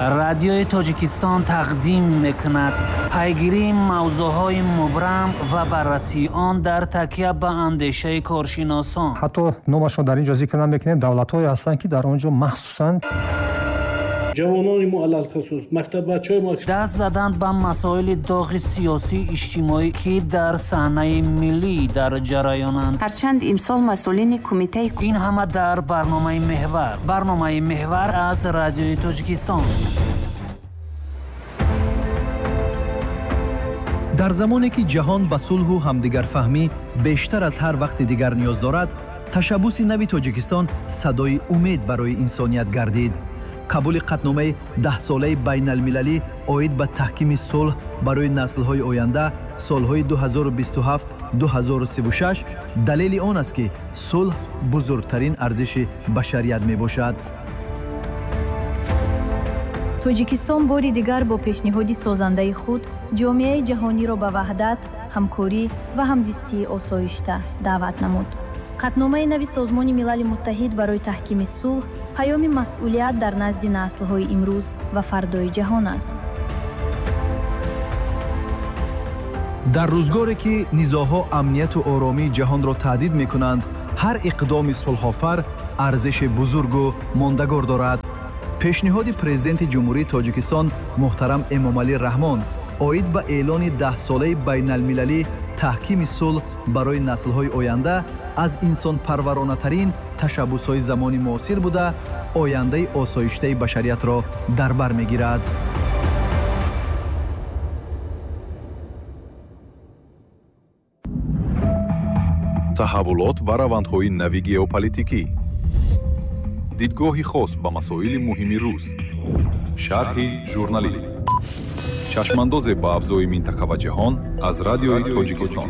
Радиои Тоҷикистон тақдим мекунад пайгирии мавзӯъҳои мубрам ва баррасии он дар такя ба андешаи коршиносон. Ҳатто номашро дар ин ҷо зикр намекунем, давлатҳое ҳастанд, ки дар он ҷо махсусан ҷавонони мо, алалхусус мактаббачаҳои мо даст заданд ба масоили доғи сиёсӣ, иҷтимоӣ, ки дар саҳнаи миллӣ дар ҷараёнанд. Ҳарчанд имсол масъулини кумитаи Ин ҳама дар барномаи Меҳвар. Барномаи Меҳвар аз Радиои Тоҷикистон. Дар замоне ки ҷаҳон ба сулҳу ҳамдигарфаҳмӣ бештар аз ҳар вақти дигар ниёз дорад, ташаббуси нави Тоҷикистон садои умед барои инсоният гардид. Қабули қатъномаи даҳсолаи байналмилалӣ оид ба таҳкими сулҳ барои наслҳои оянда солҳои 2027-2036 далели он аст, ки сулҳ бузургтарин арзиши башарият мебошад. Тоҷикистон бори дигар бо пешниҳоди созандаи худ ҷомеаи ҷаҳониро ба ваҳдат, ҳамкорӣ ва ҳамзистии осоишта даъват намуд. Қатъномаи нави Созмони Милали Муттаҳид барои таҳкими сулҳ паёми масъулият дар назди наслҳои имрӯз ва фардои ҷаҳон аст. Дар рӯзгоре ки низоъҳо амнияту оромии ҷаҳонро таҳдид мекунанд, ҳар иқдоми сулҳофар арзиши бузургу мондагор дорад. Пешниҳоди Президенти Ҷумҳурии Тоҷикистон муҳтарам Эмомалӣ Раҳмон оид ба эълони даҳсолаи байналмилалӣ таҳкими сулҳ барои наслҳои оянда аз инсонпарваронатарин ташаббусҳои замони муосир буда, ояндаи осоиштаи башариятро дар бар мегирад. Таҳаввулот ва равандҳои нави геополитикӣ, дидгоҳи хос ба масоили муҳими рӯз, шарҳи журналист, чашмандозе ба авзои минтақа ва ҷаҳон аз Радиои Тоҷикистон.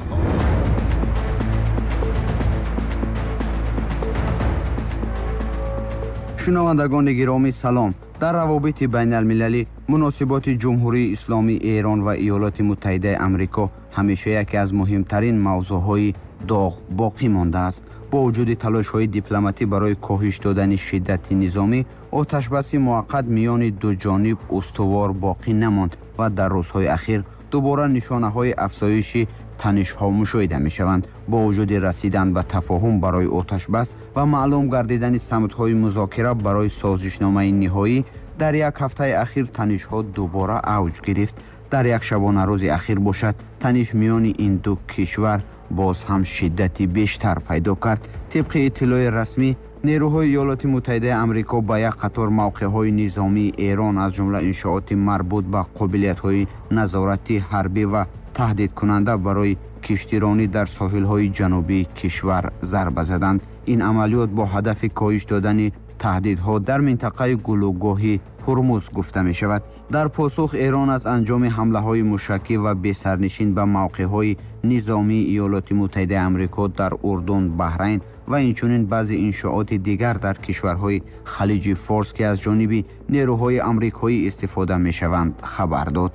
Шунавандагони гиромӣ, салом. Дар равобити байналмилалӣ муносиботи Ҷумҳурии Исломии Эрон ва Иёлоти Муттаҳидаи Амрико ҳамеша яке аз муҳимтарин мавзӯъҳои доғ боқӣ мондааст. Бо вуҷуди талошҳои дипломатӣ барои коҳиш додани шиддати низомӣ, оташбаси муваққат миёни ду ҷониб устувор боқӣ намонд ва дар рӯзҳои ахир дубора нишонаҳои афзоиши танишҳо мушоҳида мешаванд. Бо вуҷуди расидан ба тафоҳум барои оташбас ва маълум гардидани самтҳои музокира барои созишномаи ниҳоӣ, дар як ҳафтаи ахир танишҳо дубора авҷ гирифт. Дар як шабонарӯзи ахир бошад, таниш миёни ин ду кишвар боз ҳам шиддати бештар пайдо кард. Тибқи иттилои расмӣ, нерӯҳои Иёлоти Муттаҳидаи Амрико ба як қатор мавқеъҳои низомии Эрон, аз ҷумла иншооти марбут ба қобилиятҳои назорати ҳарбӣ ва таҳдидкунанда барои киштиронӣ дар соҳилҳои ҷанубии кишвар зарба заданд. Ин амалиёт бо ҳадафи коҳиш додани таҳдидҳо дар минтақаи гулӯгоҳи Ҳурмуз гуфта мешавад. Дар посух, Эрон аз анҷоми ҳамлаҳои мушакӣ ва бесарнишин ба мавқеъҳои низомии Иёлоти Муттаҳидаи Амрико дар Урдун, Баҳрайн ва инчунин баъзе иншооти дигар дар кишварҳои Халиҷи Форс, ки аз ҷониби нерӯҳои амрикоӣ истифода мешаванд, хабар дод.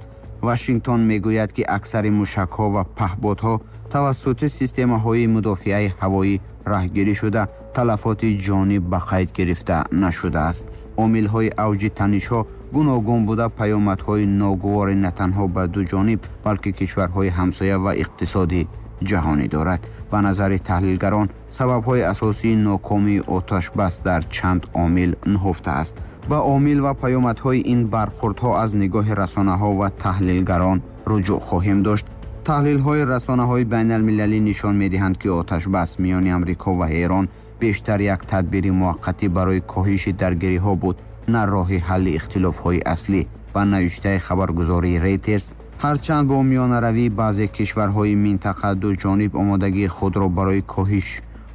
Вашингтон мегӯяд, ки аксари мушакҳо ва паҳбодҳо тавассути системаҳои мудофиаи ҳавоӣ раҳгирӣ шуда, талафоти ҷонӣ ба қайд гирифта нашудааст. Омилҳои авҷи танишҳо гуногун буда, паёмадҳои ногувори на танҳо ба ду ҷониб, балки кишварҳои ҳамсоя ва иқтисоди ҷаҳонӣ дорад. Ба назари таҳлилгарон, сабабҳои асосии нокомии оташбас дар чанд омил нуҳуфта аст. Ба омил ва паёмадҳои ин бархӯрдҳо аз нигоҳи расонаҳо ва таҳлилгарон руҷӯъ хоҳем дошт. Таҳлилҳои расонаҳои байналмилалӣ нишон медиҳанд, ки оташбас миёни Амрико ва Эрон бештар як тадбири муваққатӣ барои коҳиши даргириҳо буд, на роҳи ҳалли ихтилофҳои аслӣ. Ба навиштаи хабаргузории Рейтерс, ҳарчанд бо миёнаравии баъзе кишварҳои минтақа ду ҷониб омодагии худро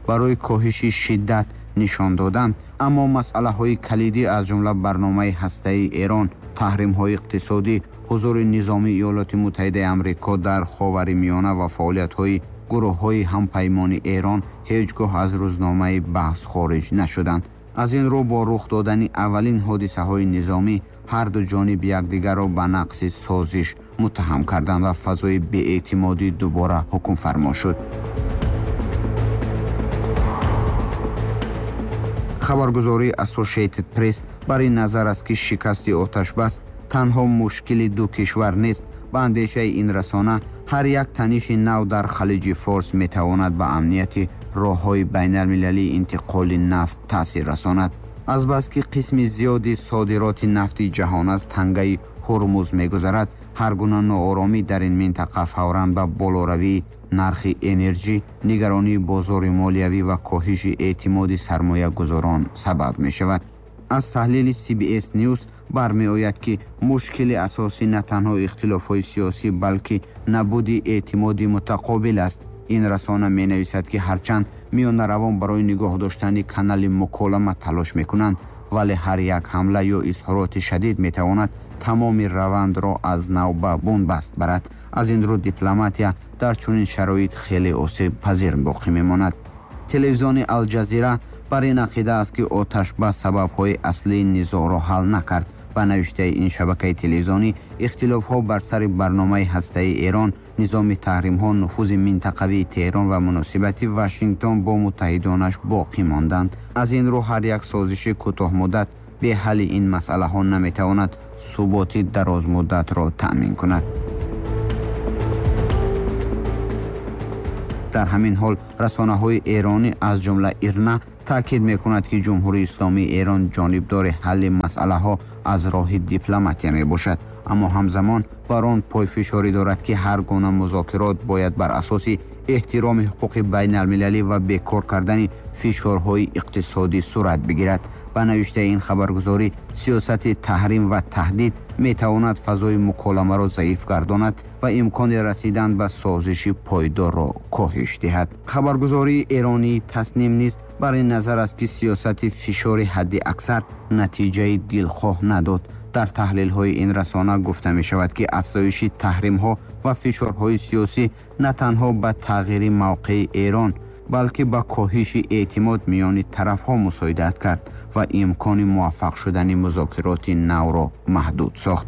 барои коҳиши шиддат нишон доданд, аммо масъалаҳои калидӣ, аз ҷумла барномаи ҳастаии Эрон, таҳримҳои иқтисодӣ, ҳузури низомии Иёлоти Муттаҳидаи Амрико дар Ховари Миёна ва фаъолиятҳои гурӯҳҳои ҳампаймони Эрон ҳеҷ гоҳ аз рӯзномаи баҳс хориҷ нашуданд. Аз ин рӯ, бо рух додани аввалин ҳодисаҳои низомӣ, ҳар ду ҷониб якдигарро ба нақси созиш муттаҳам карданд ва фазои беэътимодӣ дубора ҳукмфармо шуд. Хабаргузории Associated Press бар ин назар аст, ки шикасти оташбас танҳо мушкили ду кишвар нест. Ба андешаи ин расона, ҳар як таниши нав дар Халиҷи Форс метавонад ба амнияти роҳҳои байналмилалии интиқоли нафт таъсир расонад. Азбаски қисми зиёди содироти нафти ҷаҳон аз тангаи Ҳурмуз мегузарад, ҳар гуна нооромӣ дар ин минтақа фавран ба болоравии нархи энерҷӣ, нигаронии бозори молиявӣ ва коҳиши эътимоди сармоягузорон сабаб мешавад. Аз таҳлили CBS News бармеояд, ки мушкили асосӣ на танҳо ихтилофҳои сиёсӣ, балки набуди эътимоди мутақобил аст. Ин расона менависад, ки ҳарчанд миёнаравон барои нигоҳ доштани канали муколама талош мекунанд, вале ҳар як ҳамла ё изҳороти шадид метавонад тамоми равандро аз нав ба бунбаст барад. Аз ин рӯ дипломатия дар чунин шароит хеле осебпазир боқӣ мемонад. Телевизиони Алҷазира бар ин ақида аст, ки оташбас сабабҳои аслии низоъро ҳал накард. Ба навиштаи ин шабакаи телевизионӣ, ихтилофҳо бар сари барномаи ҳастаии Эрон, низоми таҳримҳо, нуфузи минтақавии Теҳрон ва муносибати Вашингтон бо муттаҳидонаш боқӣ монданд. Аз ин рӯ ҳар як созиши кӯтоҳмуддат бе ҳалли ин масъалаҳо наметавонад суботи дарозмуддатро таъмин кунад. Дар ҳамин ҳол расонаҳои эронӣ, аз ҷумла Ирна, таъкид мекунад, ки Ҷумҳурии Исломии Эрон ҷонибдори ҳалли масъалаҳо аз роҳи дипломатия мебошад, аммо ҳамзамон бар он пойфишорӣ дорад, ки ҳар гуна музокирот бояд бар асоси эҳтироми ҳуқуқи байналмилалӣ ва бекор кардани фишорҳои иқтисодӣ сурат бигирад. Ба навиштаи ин хабаргузорӣ, сиёсати таҳрим ва таҳдид метавонад фазои муколамаро заиф гардонад ва имкони расидан ба созиши пойдорро коҳиш диҳад. Хабаргузории эронии Тасним низ бар ин назар аст, ки сиёсати фишори ҳадди аксар натиҷаи дилхоҳ надод. Дар таҳлилҳои ин расона гуфта мешавад, ки афзоиши таҳримҳо ва фишорҳои сиёсӣ на танҳо ба тағйири мавқеи Эрон, балки ба коҳиши эътимод миёни тарафҳо мусоидат кард ва имкони муваффақ шудани музокироти навро маҳдуд сохт.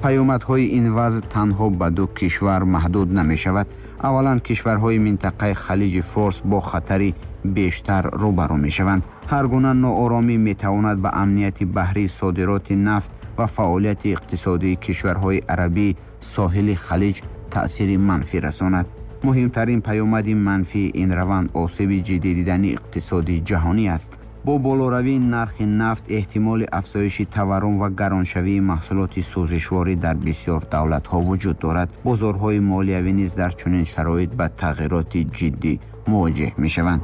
Паёмадҳои ин вазъ танҳо ба ду кишвар маҳдуд намешавад. Аввалан, кишварҳои минтақаи Халиҷи Форс бо хатари бештар рӯбарӯ мешаванд. Ҳар гуна нооромӣ метавонад ба амнияти баҳрии содироти нафт ва фаъолияти иқтисодии кишварҳои арабии соҳили Халиҷ таъсири манфӣ расонад. Муҳимтарин паёмади манфии ин раванд осеби ҷиддӣ дидани иқтисоди ҷаҳонӣ аст. Бо болоравии нархи нафт эҳтимоли афзоиши таваррум ва гароншавии маҳсулоти сӯзишворӣ дар бисёр давлатҳо вуҷуд дорад. Бозорҳои молиявӣ низ дар чунин шароит ба тағйироти ҷиддӣ мувоҷеҳ мешаванд.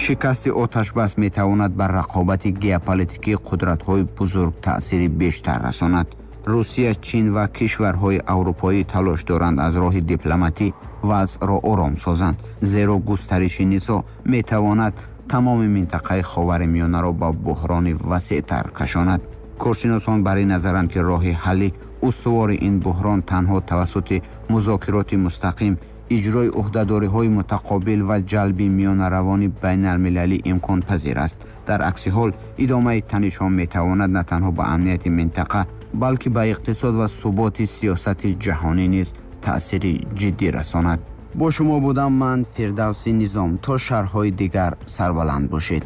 Шикасти оташбас метавонад бар рақобати геополитикии қудратҳои бузург таъсири бештар расонад. Русия, Чин ва кишварҳои аврупоӣ талош доранд аз роҳи дипломатӣ вазъро ором созанд, зеро густариши низоъ метавонад тамоми минтақаи Ховари Миёнаро ба буҳрони васеътар кашонад. Коршиносон бар ин назаранд, ки роҳи ҳалли устувори ин буҳрон танҳо тавассути музокироти мустақим, иҷрои ӯҳдадориҳои мутақобил ва ҷалби миёнаравони байналмилалӣ имконпазир аст. Дар акси ҳол идомаи танишҳо метавонад на танҳо ба амнияти минтақа, балки ба иқтисод ва суботи сиёсати ҷаҳонӣ низ таъсири ҷиддӣ расонад. Бо шумо будам ман, Фирдавси Низом. То шарҳҳои дигар сарбаланд бошед.